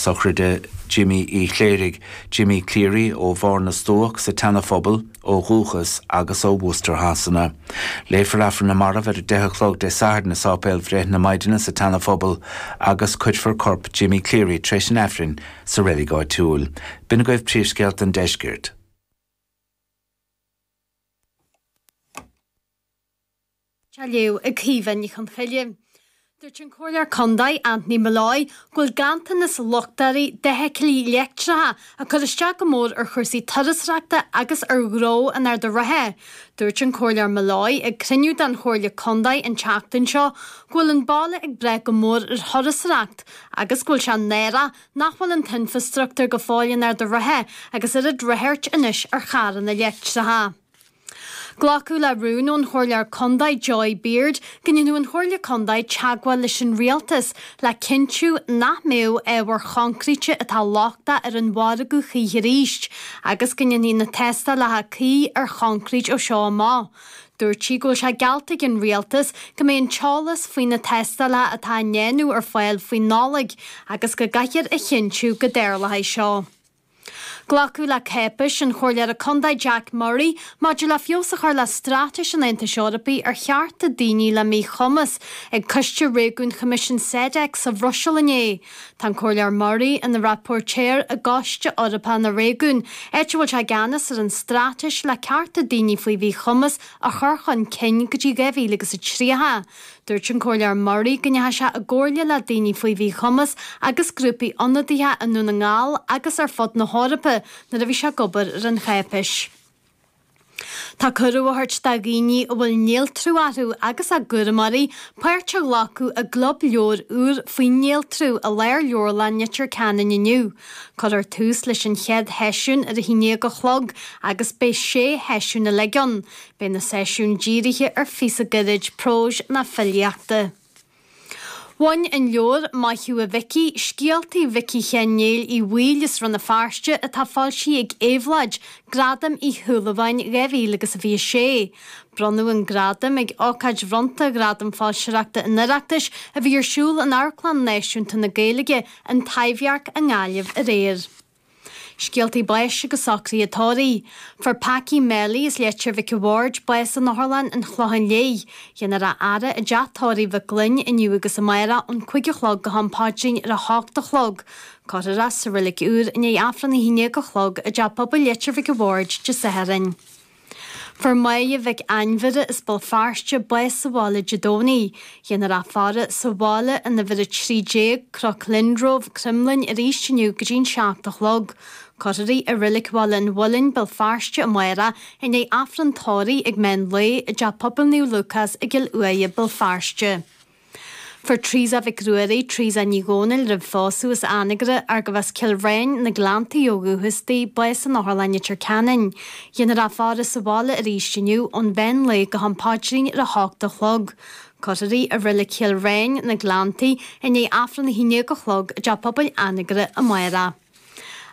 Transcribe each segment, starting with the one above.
sochraide Jimmy Uí Chléirigh, Jimmy Cleary, ó Bharr na Stuac sa tSeana-Phobal ó dhúchas agus ó Worcester Shasana. Léifear Aifreann na Marbh ar a 10 a chlog Dé Sathairn i Sáipéal Bhreith na Maighdine sa tSeana-Phobal agus cuirfear corp Jimmy Cleary tar éis an Aifrinn sa reilig áitiúil. B'in agaibh príomhscéalta an deiscirt. Á léamh ag Caoimhe Ní Chonchoille. Dúirt an Comhairleoir Contae, Anthony Molloy, go bhfuil ganntanas luchtóirí d'fheithiclí leictreacha ag cur isteach go mór ar chúrsaí turasóireachta agus ar ghnó an Arda Rátha. Dúirt an Comhairleoir Molloy ag cruinniú den Chomhairle Contae an tseachtain seo go bhfuil an baile ag brath go mór ar thurasóireacht agus go bhfuil sé náireach nach bhfuil an t-infreastruchtúr go fóill in Ard an Rátha agus oiread ráchairt anois ar charranna leictreacha. Glacadh le rún ón Chomhairleoir Contae Joy Beard go ndéanfadh an Chomhairle Contae teagmháil leis an Rialtas le cinntiú nach mbeadh ábhair choincréite atá lochtach ar an mhargadh choíche arís agus go ndéanfaí na tástálacha cuí ar choincréit ó seo amach. Dúirt sí go bhfuil sé geallta ag an Rialtas go mbeidh an t-eolas faoi na tástálacha atá á ndéanamh ar fáil faoin Nollaig agus go gcaithfear a chinntiú go dtarlóidh seo. Glacadh le cáipéis an Chomhairleora Contae Jack Murray maidir le feabhas a chur le straitéis an Aontais Eorpaigh ar chearta daoine le míchumas ag Coiste Réigiúin Choimisiún SEDEC sa Bhruiséil inné. Tá an Comhairleoir Murray ina rapóirtéir i gCoiste Eorpach na Réigiún, áit a bhfuil sé i gceannas ar an straitéis le cearta daoine faoi mhíchumas a chur chun cinn go dtí 2030. Dúirt an Comhairleoir Murray go ndeachaigh sé i gcomhairle le daoine faoi mhíchumas agus grúpaí ionadaithe i nDún na nGall agus ar fud na hEorpa nuair a bhí sé ag obair ar an cháipéis. Tá cuireadh á thabhairt do dhaoine a bhfuil néaltrú orthu agus a gcúramóirí páirt a ghlacadh i gclub leabhar úr faoin néaltrú i Lárleabharlann Leitir Ceanainn inniu. Cuirfear tús leis an chéad sheisiún ar a haon déag a chlog agus beidh sé sheisiún uilig ann. Beidh na seisiúin dírithe ar phíosa gairid próis ná filíochta. Bhain an leabhar Maith Thú a Mhicí, Scéaltaí Mhicí Sheáin Néill Uí Bhaoill as Rann na Feirste atá foilsithe ag Éabhlóid, Gradam Uí Shúilleabháin 2026. Bronnadh an gradam ag ócáid bhronnta Ghradam Foilsitheoireachta an Oireachtais a bhí ar siúl in Amharclann Náisiúnta na Gaeilge, An Taibhdhearc i nGaillimh aréir. Scéaltaí báis agus socruithe tórraimh. Fuair Packie Melly as Leitir Mhic a' Bhaird bás in Otharlann an Chlocháin Léith. Dhéanfar a fhaire i dteach tórraimh Mhic Gloinn inniu agus amárach ón 5 a chlog go ham paidrín ar a hocht a chlog. Cuirfear é sa Reilig Úr i ndiaidh Aifreann 11 a chlog i dTeach Pobail Leitir Mhic a' Bhaird Dé Sathairn. Fuair Máire Mhic Ainmhire as Béal Feirste bás sa bhaile Dé Domhnaigh. Dhéanfar a faire sa bhaile in uimhir 13, Cnoc Lindrove, Cromghlinn arís inniu go dtí'n 7 a chlog. Cuirfear í i Reilig Bhaile an Mhuilinn, Béal Feirste amárach i ndiaidh Aifreann tórraimh ag meán lae i dTeach Pobail Naomh Lúcás i gCill Uaighe, Béal Feirste. Fuair Teresa Mhic Ruairí, Teresa Ní Dhomhnaill roimh phósadh as Anagaire, arbh as Cill Ráin, na Gleanntaí ó dhúchas di, bás in Otharlann Leitir Ceanainn. Dhéanfar a faire sa bhaile arís inniu ón mheán lae go ham paidrín ar a hocht a chlog. Cuirfear í i Reilig Chill Ráin, na Gleanntaí, i ndiaidh Aifreann 11 a chlog i dTeach Pobail Anagaire amárach.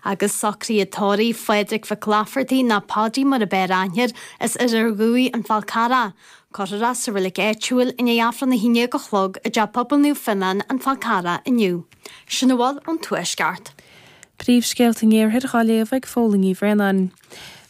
Agus socruithe tórraimh Phádraig Mhic Laifeartaigh nó Páidí mar ab fhearr aithne air, as Oirear Dhuibh, An Fál Carrach. Cuirfear é sa reilig áitiúil i ndiaidh Aifreann 11 a chlog i dTeach Pobail Naomh Fionán, An Fál Carrach inniu. Sin a bhfuil ón Tuaisceart. Príomhscéalta an Iarthair dhá léamh ag Fódhla Ní Bhraonáin.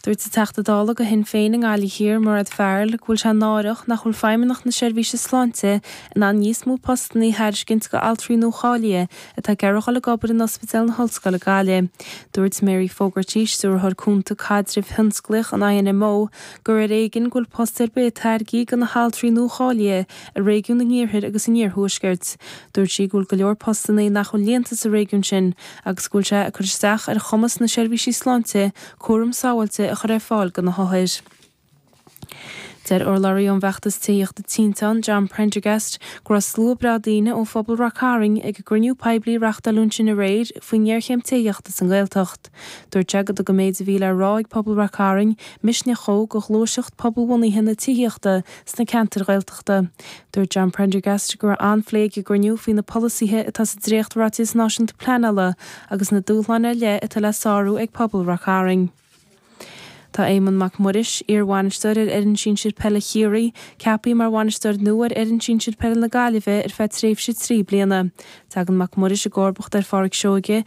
Dúirt an Teachta Dála do Shinn Féin i nGaillimh Thiar, Mairéad Farrell, go bhfuil sé náireach nach bhfuil Feidhmeannacht na Seirbhíse Sláinte in ann níos mó postanna a thairiscint do altraí nuacháilithe atá ag iarraidh dhul ag obair in Ospidéal na hOllscoile Gaillimh. Dúirt Mary Fogarty, Stiúrthóir Cúnta Caidrimh Thionsclaíoch an INMO, gur ar éigean go bhfuil post ar bith tairgthe do na haltraí nuacháilithe i réigiún an Iarthair agus an Iarthuaiscirt. Dúirt sí go bhfuil go leor postanna nach bhfuil líonta sa réigiún sin agus go bhfuil sé ag cur isteach ar chumas na seirbhísí sláinte cúram sábháilte a chur ar fáil do na hothair. Deir urlabhraí ón bhfeachtas tithíochta Tinteán, John Prendergast, go raibh slua breá daoine ó phobal Rath Cairn ag an gcruinniú poiblí a reáchtáileadh ansin aréir faoin ngéarchéim tithíochta sa nGaeltacht. Dúirt sé go dtug an méid a bhí le rá ag pobal Rath Cairn misneach dhó do ghluaiseacht pobalbhunaithe na tithíochta sna ceantair Ghaeltachta. Dúirt John Prendergast go raibh an-phlé ag an gcruinniú faoi na polasaithe atá sa dréacht-Ráiteas Náisiúnta Pleanála agus na dúshláin ar leith atá le sárú ag pobal Rath Cairn. Tá Éamonn Mac Muiris, iar-bhainisteoir ar fhoireann sinsir peile Chiarraí, ceaptha mar bhainisteoir nua ar fhoireann sinsir peile na Gaillimhe ar feadh tréimhse 3 bliana. Tagann Mac Muiris i gcomharbacht ar Pháraic Seoige.